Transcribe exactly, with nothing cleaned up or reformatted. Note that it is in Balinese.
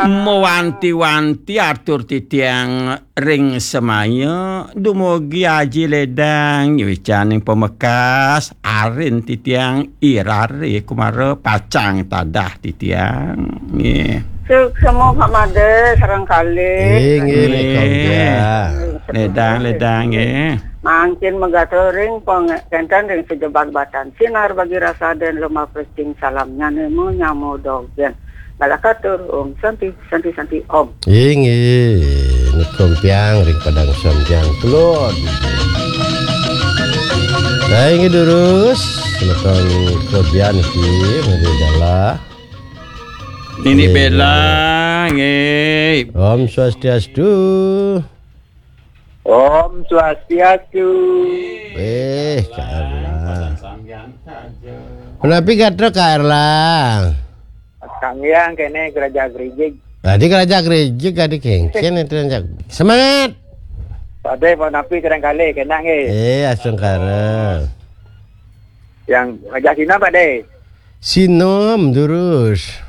Mewanti-wanti atur titiang ring semaya, dumugi Aji Ledang nyuicaning pamekas, arin titiang irare kumara pacang tadah titiang. Nggih. Suksma Pak Made sareng kalih. Inggih, Nggih. Nika. Ledang, ledang, nggih. Mangkin magatur ring pang-, kenten ring sejebag batan sinar bagi rasa den lemah pecing salam nyane mo nyamo dogen. Balakatur, Om Santi, Santi, Santi, Om. Inggih, nika piang ring padang sampiang kelod. Nah, inggih durus, semeton kelebihan iki, mari dalah. Nini Inggih. Bella, nggih. Om Swastiastu. Om Swastiastu. Eh, Kak Erlang. Punapi gatra, Kak Erlang? Kang Yang kene Geraja Gerijig. Tadi Geraja Gerijig, tadi kengken itu yang jak-, semangat. Pade punapi kadang kali kena nggih. Eh, astungkara. Yang Raja Sina pade. Sinom durus.